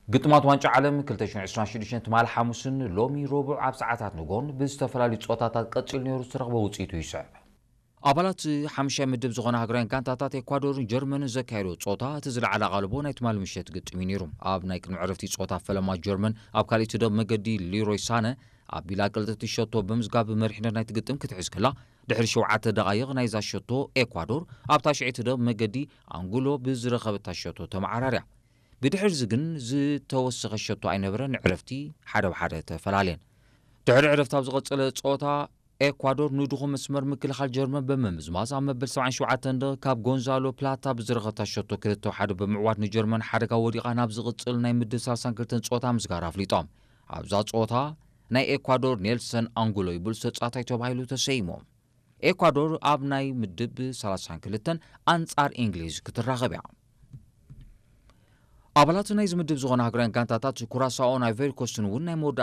ግጥማት ዋንጫ ዓለም ክልተ ሽሕን ዕስራን ሽዱሽተን ትማሊ ሓሙስን ሎሚ ረቡዕ ኣብ ሰዓታት ንጎን ብዝተፈላለዩ ጾታታት ቀጺሉ ነይሩ ዝተረኽበ ውጽኢቱ ይስዕብ። ኣባላት ሓምሻይ ምድብ ዝኾና ሃገራውያን ጋንታታት ኤኳዶርን ጀርመንን ዘካየዶ ጾታ እቲ ዝለዓለ ኣቓልቦ ናይ ትማሊ ምሸት ግጥም እዩ ነይሩ። ኣብ ናይ ቅድሚ ዕረፍቲ ጾታ ፈለማ ጀርመን ኣብ ካልእ ትደብ መገዲ ሊሮይ ሳነ ኣቢላ ቅልጥቲ ሸቶ ብምዝጋብ መሪሕነት ናይቲ ግጥም ክትሕዝ ከላ፣ ድሕሪ ሸውዓተ ደቓይቕ ናይዛ ሸቶ ኤኳዶር ኣብታ ሽዒ ትደብ መገዲ ኣንጉሎ ብዝረኸበታ ሸቶ ተመዓራርያ። ብድሕርዚ ግን ዝተወሰኸ ሸቶ ኣይነበረን፣ ዕረፍቲ ሓደ ብሓደ ተፈላለየን። ድሕሪ ዕረፍቲ ኣብ ዝቐጸለ ጸወታ ኤኳዶር ንድኹም መስመር ምክልኻል ጀርመን ብምምዝማዝ ኣብ መበል ሰብዓን ሸውዓተን ደቂቕ ካብ ጎንዛሎ ፕላታ ብዝረኸብታ ሸቶ ክልተ ሓደ ብምዕዋት ንጀርመን ሓደጋ ወዲቓ ናብ ዝቕጽል ናይ ምድብ ሰላሳን ክልተን ጸወታ ምስጋር ኣፍሊጦም። ኣብዛ ጸወታ ናይ ኤኳዶር ኔልሰን ኣንጉሎ ይብል ተጻታይ ተባሂሉ ተሰይሙ። ኤኳዶር ኣብ ናይ ምድብ ሰላሳን ክልተን ኣንጻር እንግሊዝ ክትራኸብ እያ። ኣባላት ናይዚ ምድብ ዝኾና ሃገራውያን ጋንታታት ኩራሳኦን ኣይቨሪ ኮስትን እውን ናይ መወዳእታ